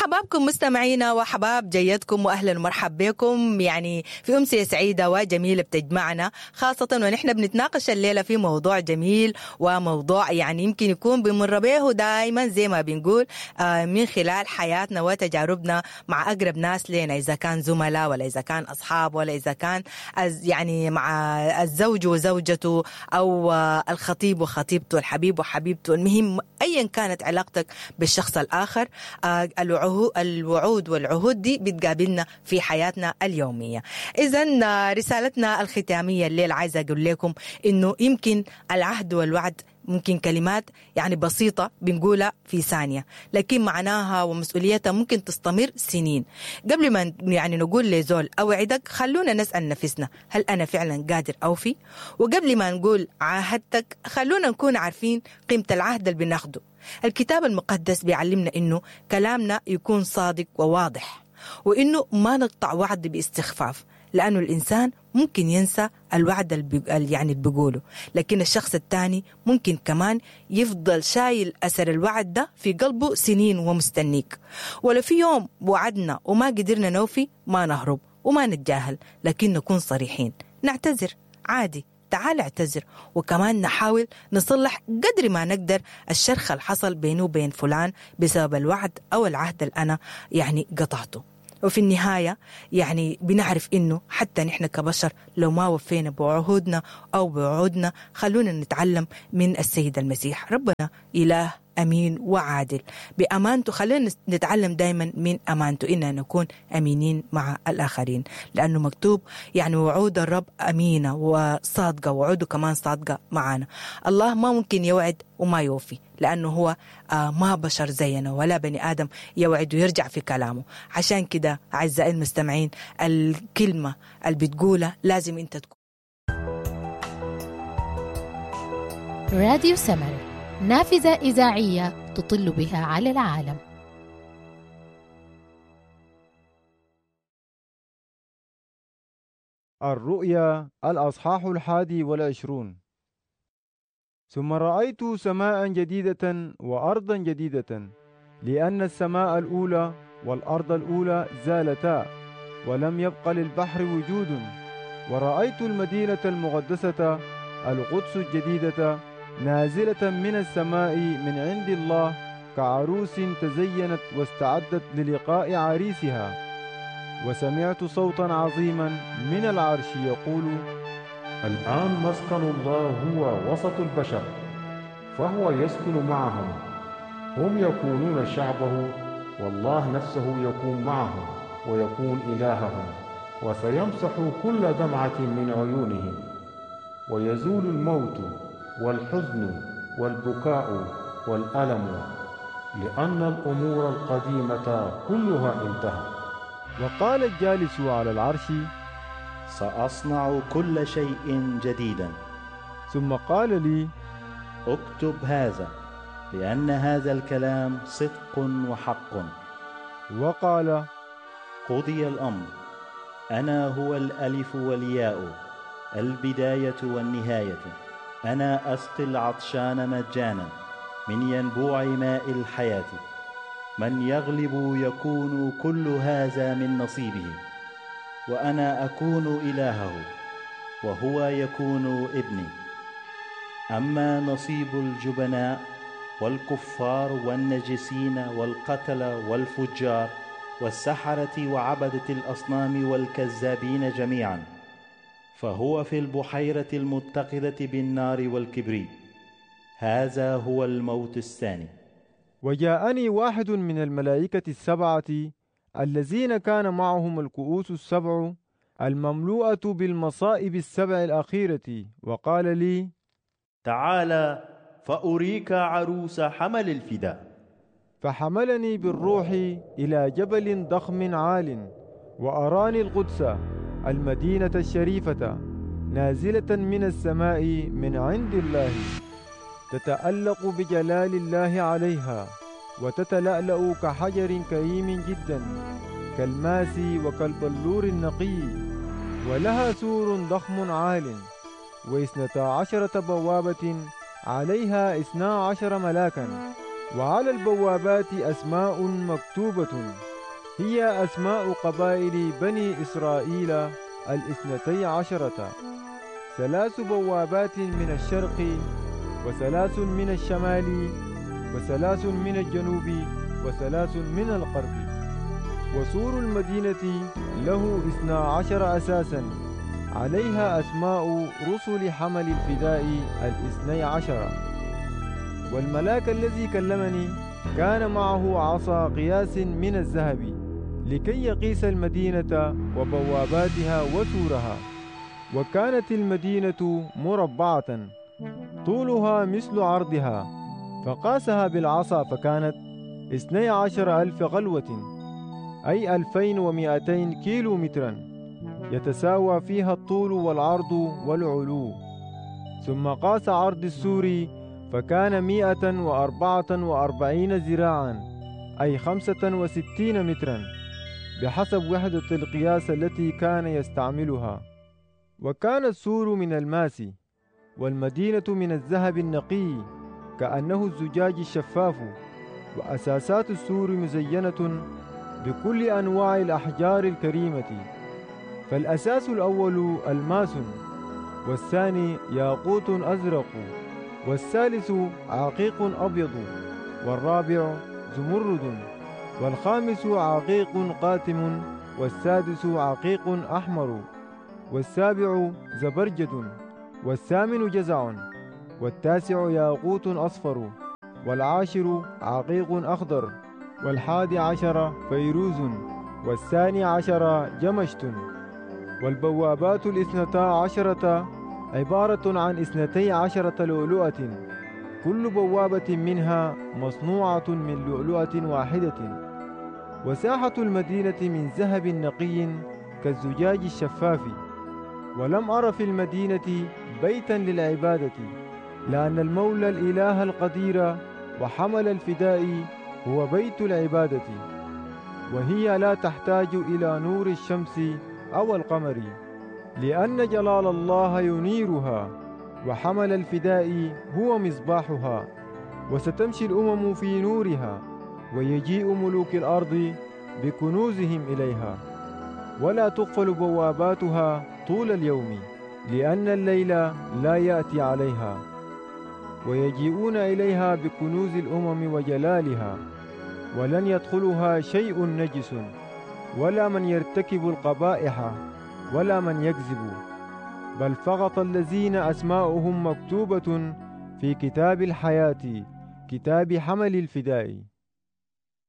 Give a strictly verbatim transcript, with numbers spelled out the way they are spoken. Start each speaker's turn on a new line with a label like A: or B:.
A: حبابكم مستمعينا وحباب جيدكم، واهلا ومرحبا بكم يعني في امسية سعيدة وجميلة بتجمعنا، خاصة ونحن بنتناقش الليلة في موضوع جميل وموضوع يعني يمكن يكون بنمر به دائما زي ما بنقول من خلال حياتنا وتجاربنا مع اقرب ناس لنا، اذا كان زملاء ولا اذا كان اصحاب ولا اذا كان يعني مع الزوج وزوجته او الخطيب وخطيبته، الحبيب وحبيبته. المهم ايا كانت علاقتك بالشخص الاخر، الوعود والعهود دي بتقابلنا في حياتنا اليومية. اذا رسالتنا الختامية الليلة عايزه اقول لكم انه يمكن العهد والوعد ممكن كلمات يعني بسيطة بنقولها في ثانية، لكن معناها ومسؤوليتها ممكن تستمر سنين. قبل ما يعني نقول لزول أوعدك، خلونا نسأل نفسنا هل أنا فعلا قادر أوفي؟ وقبل ما نقول عاهدتك، خلونا نكون عارفين قيمة العهد اللي بناخده. الكتاب المقدس بيعلمنا إنه كلامنا يكون صادق وواضح، وإنه ما نقطع وعد باستخفاف، لأنه الإنسان ممكن ينسى الوعد اللي يعني اللي بيقوله، لكن الشخص الثاني ممكن كمان يفضل شايل أثر الوعد ده في قلبه سنين ومستنيك. ولو في يوم وعدنا وما قدرنا نوفي، ما نهرب وما نتجاهل، لكن نكون صريحين، نعتذر عادي، تعال اعتذر، وكمان نحاول نصلح قدر ما نقدر الشرخ اللي حصل بينه وبين فلان بسبب الوعد أو العهد اللي أنا يعني قطعته. وفي النهاية يعني بنعرف إنه حتى نحن كبشر لو ما وفينا بعهودنا أو بوعودنا، خلونا نتعلم من السيد المسيح. ربنا إله أمين وعادل بأمانته، خلينا نتعلم دايما من أمانته إننا نكون أمينين مع الآخرين، لأنه مكتوب يعني وعود الرب أمينة وصادقة، وعوده كمان صادقة معنا. الله ما ممكن يوعد وما يوفي، لأنه هو ما بشر زينا ولا بني آدم يوعد ويرجع في كلامه. عشان كده أعزائي المستمعين، الكلمة اللي بتقولها لازم أنت تكون.
B: راديو سمر، نافذة إذاعية تطل بها على العالم.
C: الرؤيا الأصحاح الحادي والعشرون. ثم رأيت سماء جديدة وأرضا جديدة، لأن السماء الأولى والأرض الأولى زالتا، ولم يبق للبحر وجود. ورأيت المدينة المقدسة القدس الجديدة نازلة من السماء من عند الله، كعروس تزينت واستعدت للقاء عريسها. وسمعت صوتا عظيما من العرش يقول:
D: الآن مسكن الله هو وسط البشر، فهو يسكن معهم، هم يكونون شعبه، والله نفسه يكون معهم ويكون إلههم، وسيمسح كل دمعة من عيونهم، ويزول الموت والحزن والبكاء والألم، لأن الأمور القديمة كلها انتهت.
C: وقال الجالس على العرش:
E: سأصنع كل شيء جديدا.
C: ثم قال لي:
E: اكتب هذا، لأن هذا الكلام صدق وحق.
C: وقال:
E: قضي الأمر، أنا هو الألف والياء، البداية والنهاية. أنا أسقي العطشان مجانا من ينبوع ماء الحياة. من يغلب يكون كل هذا من نصيبه، وأنا أكون إلهه وهو يكون ابني. أما نصيب الجبناء والكفار والنجسين والقتل والفجار والسحرة وعبدة الأصنام والكذابين جميعا، فهو في البحيرة المتقدة بالنار والكبريت. هذا هو الموت الثاني.
C: وجاءني واحد من الملائكة السبعة الذين كان معهم الكؤوس السبع المملوءة بالمصائب السبع الأخيرة، وقال لي:
E: تعال فأريك عروس حمل الفداء.
C: فحملني بالروح إلى جبل ضخم عال، وأراني القدس المدينة الشريفة نازلة من السماء من عند الله، تتألق بجلال الله عليها، وتتلألأ كحجر كريم جدا، كالماس وكالبلور النقي، ولها سور ضخم عال، واثنتا عشرة بوابة عليها اثنا عشر ملاكا، وعلى البوابات أسماء مكتوبة، هي أسماء قبائل بني إسرائيل الاثنتي عشرة. ثلاث بوابات من الشرق، وثلاث من الشمال، وثلاث من الجنوب، وثلاث من الغرب. وسور المدينة له اثنا عشر أساسا، عليها أسماء رسل حمل الفداء الاثني عشر. والملاك الذي كلمني كان معه عصا قياس من الذهب لكي يقيس المدينة وبواباتها وسورها. وكانت المدينة مربعة، طولها مثل عرضها، فقاسها بالعصا فكانت اثني عشر ألف غلوة، أي ألفين ومئتين كيلو مترا، يتساوى فيها الطول والعرض والعلو. ثم قاس عرض السور فكان مئة وأربعة وأربعين ذراعا، أي خمسة وستين مترا، بحسب وحدة القياس التي كان يستعملها. وكان السور من الماس، والمدينة من الذهب النقي كأنه الزجاج الشفاف، وأساسات السور مزينة بكل أنواع الأحجار الكريمة. فالأساس الأول الماس، والثاني ياقوت أزرق، والثالث عقيق أبيض، والرابع زمرد، والخامس عقيق قاتم، والسادس عقيق أحمر، والسابع زبرجد، والثامن جزع، والتاسع ياقوت أصفر، والعاشر عقيق أخضر، والحادي عشر فيروز، والثاني عشر جمشت. والبوابات الاثنتا عشرة عبارة عن اثنتي عشرة لؤلؤة، كل بوابة منها مصنوعة من لؤلؤة واحدة. وساحة المدينة من ذهب نقي كالزجاج الشفاف. ولم أر في المدينة بيتا للعبادة، لأن المولى الإله القدير وحمل الفداء هو بيت العبادة، وهي لا تحتاج إلى نور الشمس أو القمر، لأن جلال الله ينيرها، وحمل الفداء هو مصباحها. وستمشي الأمم في نورها، ويجيء ملوك الأرض بكنوزهم إليها. ولا تقفل بواباتها طول اليوم، لأن الليل لا يأتي عليها. ويجيئون إليها بكنوز الأمم وجلالها، ولن يدخلها شيء نجس، ولا من يرتكب القبائح، ولا من يكذب، بل فقط الذين أسماؤهم مكتوبة في كتاب الحياة، كتاب حمل الفداء.